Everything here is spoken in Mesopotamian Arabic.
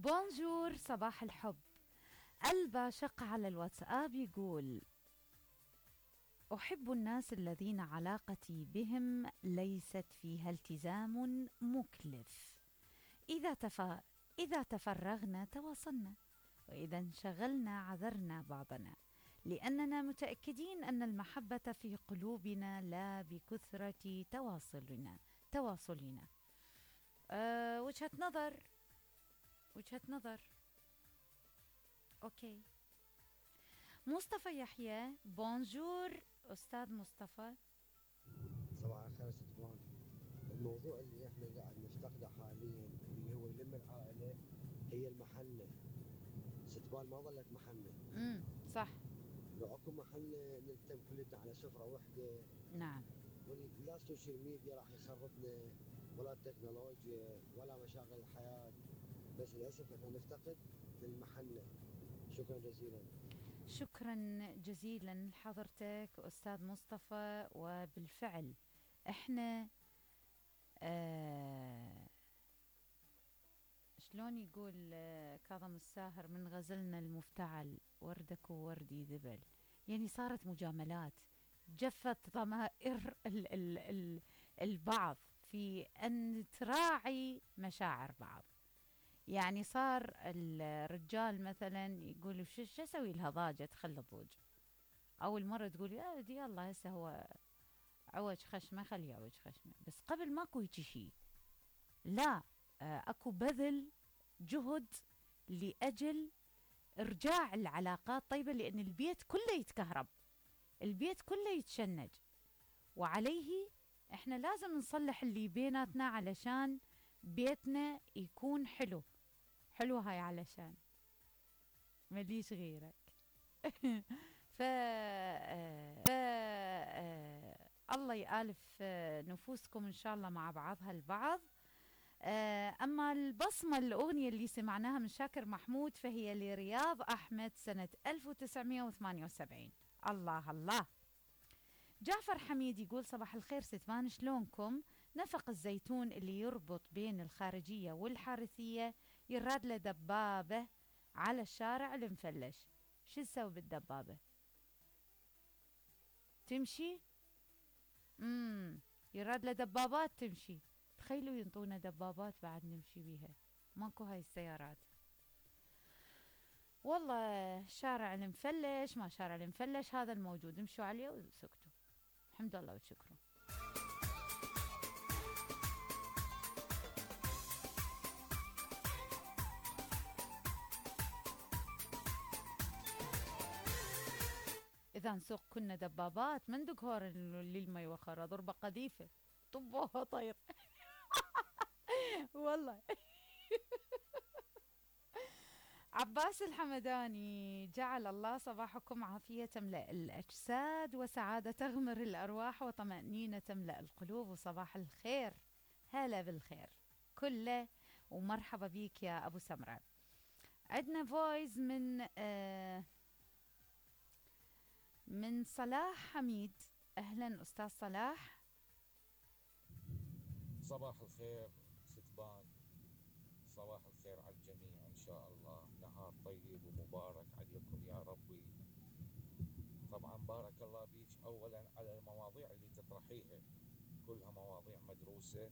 بونجور، صباح الحب. الباشق على الواتساب يقول: أحب الناس الذين علاقتي بهم ليست فيها التزام مكلف. إذا تفرغنا تواصلنا، وإذا انشغلنا عذرنا بعضنا، لأننا متأكدين أن المحبة في قلوبنا لا بكثرة تواصلنا. وجهة نظر. أوكي. مصطفى يحيى، بونجور أستاذ مصطفى. صباح الخير ستبان. الموضوع اللي احنا قاعد نفتقده حاليا اللي هو يلم العائلة هي المحنة. ستبان ما ظلت محنة. صح. لو اكو محنة نلتم كلنا على سفرة واحدة. نعم. ولا السوشيال ميديا راح يخربنا، ولا التكنولوجيا، ولا مشاغل الحياة. بس للأسف احنا نفتقد المحنة. شكرا جزيلا. شكرا جزيلا لحضرتك أستاذ مصطفى. وبالفعل احنا شلون يقول كاظم الساهر من غزلنا المفتعل وردك ووردي ذبل، يعني صارت مجاملات، جفت ضمائر البعض في أن تراعي مشاعر بعض. يعني صار الرجال مثلا يقول شو اسوي لها ضاجة تخلي ضوج، او المرة تقول يا دي الله هسه هو عوج خشمه خليه يعوج خشمه. بس قبل ماكو هيجي شي، لا، اكو بذل جهد لأجل ارجاع العلاقات طيبة، لان البيت كله يتكهرب، البيت كله يتشنج، وعليه احنا لازم نصلح اللي بيناتنا علشان بيتنا يكون حلو. حلو هاي علشان مليش غيرك. ف الله يآلف نفوسكم إن شاء الله مع بعضها البعض. أما البصمة الأغنية اللي سمعناها من شاكر محمود فهي لرياض أحمد سنة 1978. الله الله. جعفر حميد يقول: صباح الخير ستمان، شلونكم؟ نفق الزيتون اللي يربط بين الخارجية والحارثية يراد له دبابة على الشارع المفلش. شو تسوي بالدبابة؟ تمشي؟ يراد له دبابات تمشي. تخيلوا ينطونا دبابات بعد نمشي بيها، ماكو هاي السيارات. والله شارع المفلش ما شارع المفلش، هذا الموجود امشوا عليه وسكتوا. الحمد لله وشكرا. إذا نسوق كنا دبابات من دقهور اللي ما يوخر ضربة قذيفة طبوها طير. والله. عباس الحمداني: جعل الله صباحكم عافية تملأ الأجساد وسعادة تغمر الأرواح وطمأنينة تملأ القلوب، وصباح الخير. هلا بالخير كله، ومرحبا بيك يا أبو سمرة. عندنا فويز من صلاح حميد. أهلا أستاذ صلاح. صباح الخير ستبان، صباح الخير على الجميع، إن شاء الله نهار طيب ومبارك عليكم يا ربي. طبعا بارك الله بيك أولا على المواضيع اللي تطرحيها، كلها مواضيع مدروسة